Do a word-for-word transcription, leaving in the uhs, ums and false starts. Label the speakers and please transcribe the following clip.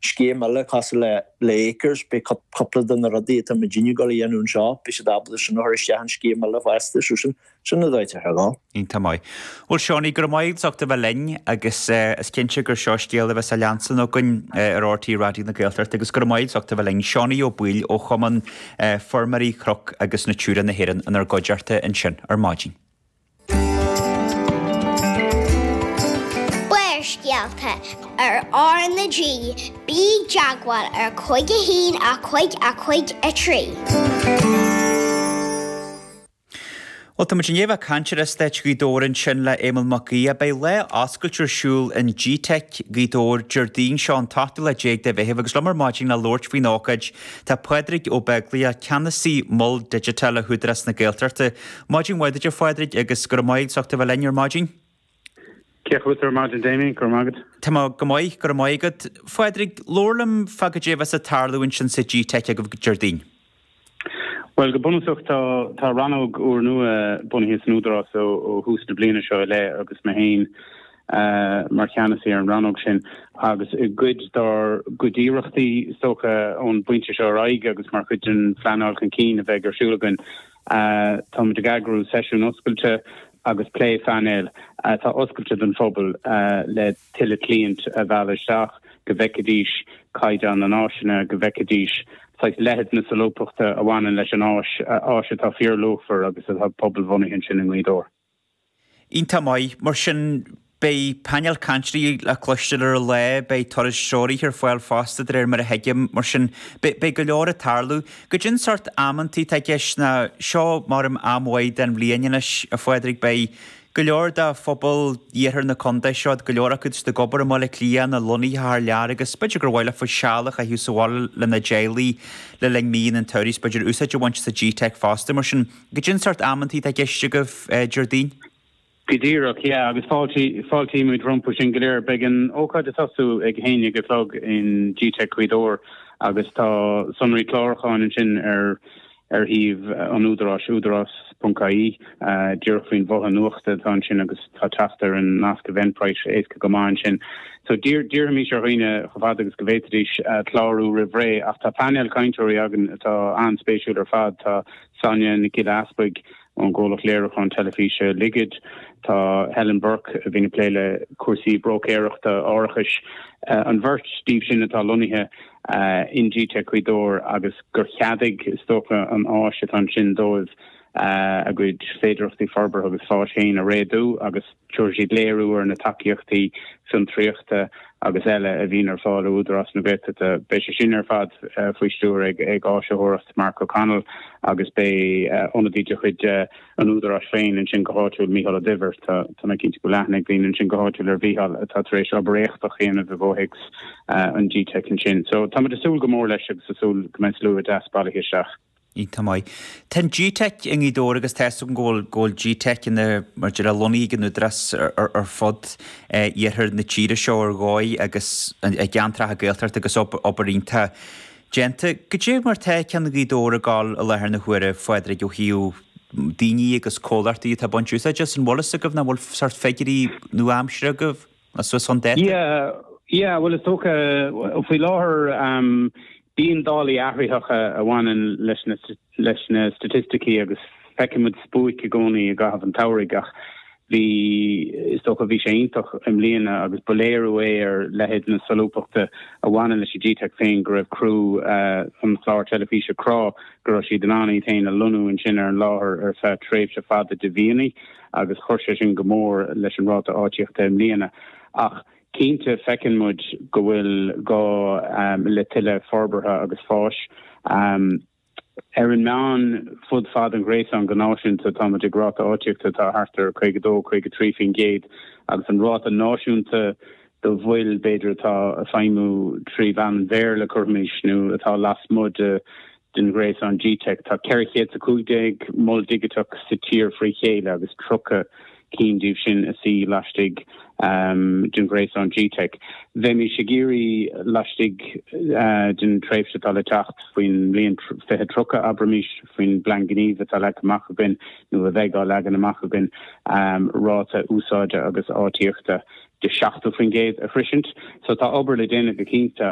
Speaker 1: scéim eile cosúil le le Acres beidh cúpla de na rudaí atá muidinne ag dul a dhéanamh anseo beidh siad ábalta sin a chur isteach in scéim eile fosta so sin sin na dóite ar lá.
Speaker 2: Iontach maith. Bhuel Seánie go raibh maith agat as ucht a bheith linn agus is cinnte gur seo scéal a bheas á leanstan againn ar RTÉ Raidió na Gaeltachta agus go raibh maith agat as ucht a bheith linn Seánie Ó Baoill ó Chumann Feirmeoirí Chnoc agus Natura na hÉireann inár gcuideachta ansin ar maidin.
Speaker 3: Barrscéalta ar R na G, bí i dteagmháil ar cúig a haon a cúig a cúig a trí.
Speaker 2: Bhuel, tá muid i ndiaidh a bheith ag caint ar Eastát Ghaoth Dobhair ansin le Éamonn Mac Aodha. Beidh lá oscailte ar siúl in GTeic Ghaoth Dobhair Déardaoin seo an t-ochtú lá déag de Mheitheamh agus liom ar maidin le labhairt faoin ócáid tá Pádraig Ó Beaglaoich, Ceannasaí Mol Digiteach le hÚdarás na Gaeltachta. Maidin mhaith duit a Phádraig agus go raibh maith agat as ucht a bheith linn ar maidin.
Speaker 4: Cén chaoi a bhfuil tú ar maidin Damien, go raibh maith agat.
Speaker 2: Tá mé go maith, go raibh maith agat. Phádraig, labhair liom fá goidé a bheas ag tarlú ansin sa GTeic agaibh Déardaoin.
Speaker 4: Bhuel, go bunúsach tá tá rannóg úrnua bunaithe san Údarás ó ó thús na bliana seo i leith agus mé féin mar cheannasaí ar an rannóg sin agus i gcuid dár gcuid iarrachtaí is dócha ón bpointe seo ar aghaidh agus mar chuid den phleanáil chun cinn a bheidh ar siúl againn táimid ag eagrú seisiún oscailte agus plé phainéil atá oscailte don phobal le tuilleadh cliant a mhealladh isteach, go bhfeicfidís caighdeán na n-áiseanna, go bhfeicfidís saghas leithead na solúbthachta a bhaineann leis an áis, áis atá fíorluachmhar agus atá pobalbhunaithe ansin i nGaoth Dobhair.
Speaker 2: Iontach maith. Mar sin, beidh painéal cainteoirí le cloisteáil ar an lá, beidh turais treoraithe ar fáil fosta de réir mar a thuigim. Mar sin, beidh go leor ag tarlú. Goidé an sórt amantaí atá i gceist ná seo mar am mhaith den bhliain anois, a Phádraig, beidh go leor de phobal iarthar na contae seo, go leor acu ag obair i mBaile Átha Cliath nó lonnaithe thar lear agus b'fhéidir gur mhaith leofa seal a chaitheamh sa bhaile lena dteaghlaigh le linn míonna an tsamhraidh is b'fhéidir úsáid a bhaint as an GTeic fosta. Mar sin, goidé an sórt amantaí atá i gceist agaibh Déardaoin?
Speaker 4: Go díreach, yeah, agus fáiltímid rompu sin go léir. Beidh an ócáid ag tosú ag a haon déag a chlog in GTeic Ghaoth Dobhair agus tá sonraí clárúcháin ansin ar ar shuíomh an Údaráis, údarás ponc ie, díreach faoin bhotha nuachta atá ansin agus tá teacht ar an nasc Eventbrite éasca go maith ansin. So d'iarrfaimis ar dhaoine chomh fada agus go bhféadfaidís clárú roimh ré ach tá painéal cainteoirí againn atá an-spéisiúil ar fad. Tá Sonia Nic Giolla Easpaig ón gcomhlacht léiriúcháin teilifíse Ligid, tá Helen Burke a bhíonn ag plé le cúrsaí bróicéireachta árachais, an bheirt díobh sin atá lonnaithe in GTeic Ghaoth Dobhair agus gur cheadaigh, is dócha, an áis atá ansin dóibh a gcuid féidearthachtaí forbartha agus fáis féin a réadú agus tabharfaidh siad léiriú ar na tacaíochtaí fiontraíochta agus eile a bhíonn ar fáil ó Údarás na Gaeltachta. Beidh sé sin ar fad faoi stiúir ag áisitheoireacht Mark O'Connell agus beidh ionadaí de chuid an Údaráis féin ansin go háitiúil, Mícheál Ó Duibhir. Tá tá mé cinnte go bhfuil aithne ag daoine ansin go háitiúil ar Mhícheál atá tar éis obair éachtach a dhéanamh i gcomhthéacs an GTeic ansin. So tá muid ag súil go mór leis agus ag súil go mbeidh slua deas bailithe isteach.
Speaker 2: Iontach maith. Tá an GTeic i nGaoth Dobhair agus tá 'fhios agam go bhfuil go bhfuil GTeic ina mar a déarfá lonnaithe ag an Údarás ar ar fud iarthar na tíre seo ar dhóigh agus i gceantracha Gaeltachta agus obair iontach déanta. Goidé mar tá ceann Ghaoth Dobhair ag gabháil i láthair na huaire, a Phádraig, ó thaobh daoine agus comhlachtaí atá ag baint úsáide as? An bhfuil fhios agaibh nó an bhfuil sórt figiúirí nua-aimseartha agaibh nó suas chun dáta?
Speaker 4: Yeah, yeah, bhuel is dócha faoi láthair bíonn dálaí athraitheacha a bhaineann leis na leis na staitisticí agus feiceann muid spuaic i gcónaí i gcaitheamh an tsamhraidh ach Bhí, is dócha, bhí sé iontach i mbliana agus ba léiriú é ar leithead na solúbthachta a bhaineann leis an GTeic féin go raibh criú an chláir teilifíse Crá, go raibh siad in ann iad féin a lonnú ansin ar an láthair ar feadh tréimhse fada de mhíonna agus chuir sé sin go mór leis an ráta áitíochta i mbliana. Ach cinnte feiceann muid go bhfuil gá le tuilleadh forbartha agus fáis. Ar an meán, fud fad an ghréasáin go náisiúnta, tá muid ag ráta áitíochta atá thart ar caoga dó, caoga trí faoin gcéad agus an ráta náisiúnta do mhoil, b'fhéidir, atá ag feidhmiú trí mheán an Bhéarla, cuirfimis, nó atá lasmuigh de den ghréasán GTeic. Tá ceithre chéad is a cúig déag mol digiteach sa tír frí chéile agus tríocha cinn díobh sin a suí laistigh den ghréasán GTeic. Bheimis ag iarraidh laistigh den tréimhse atá le teacht, faoin mbliain fiche tríocha, abraimis, faoin bplean gnímh atá leagtha amach againn nó a bheidh á leagan amach againn, ráta úsáide agus áitíochta de seachtó faoin gcéad a shroisint. So tá obair le déanamh go cinnte.